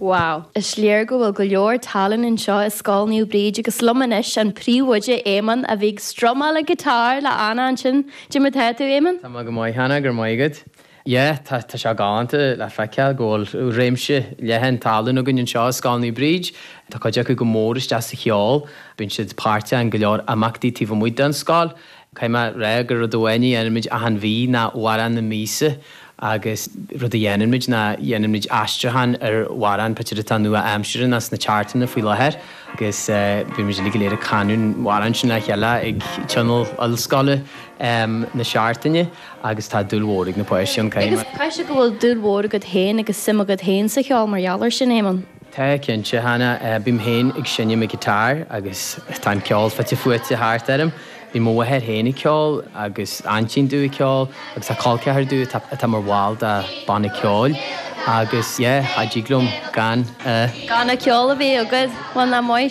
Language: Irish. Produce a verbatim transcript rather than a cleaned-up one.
Wow. Is léir go bhfuil go leor tallann anseo i Scoil Naomh Bríd agus liom anois an príomhoide Éamonn a bhí ag strumáil an guitar le Anna ansin. Cad é mar atá tú Éamonn? Tá go maith Hannah gur maith agat. Yeah, tá tá sé galánta le feiceáil go bhfuil réimse leathan tallann againn anseo i Scoil Naomh Bríd. Tá cuid acu go mór isteach sa cheol, bíonn siad páirteach in go leor imeachtaí taobh amuigh den scoil. Caithfidh mé a rá gur rud amháin a dhéanaimid achan mhí ná amhrán na míosa agus rud a dhéanaimid ná dhéanaimid aistriúchán ar amhrán b'fhéidir atá nua-aimseartha nó sna chartanna faoi láthair agus bímid uilig go léir ag canadh an amhrán sin le chéile ag tionól ollscoile na seachtaine agus tá dúil mhór ag na páistí ann Agus caithfidh sé go bhfuil dúil mhór agat féin agus suim agat féin sa cheol mar gheall air sin Éamonn. Tá cinnte Hannah bím féin ag seinm an guitar agus tá an ceol fite fuaite thart orm. Bhí mo mháthair féin ag ceol agus aintín domh ag ceol agus tá col ceathar domh atá mar bhall de banna ceoil agus yeah, cha dtig liom gan Gan an ceol a bheith agat bhfuil na maith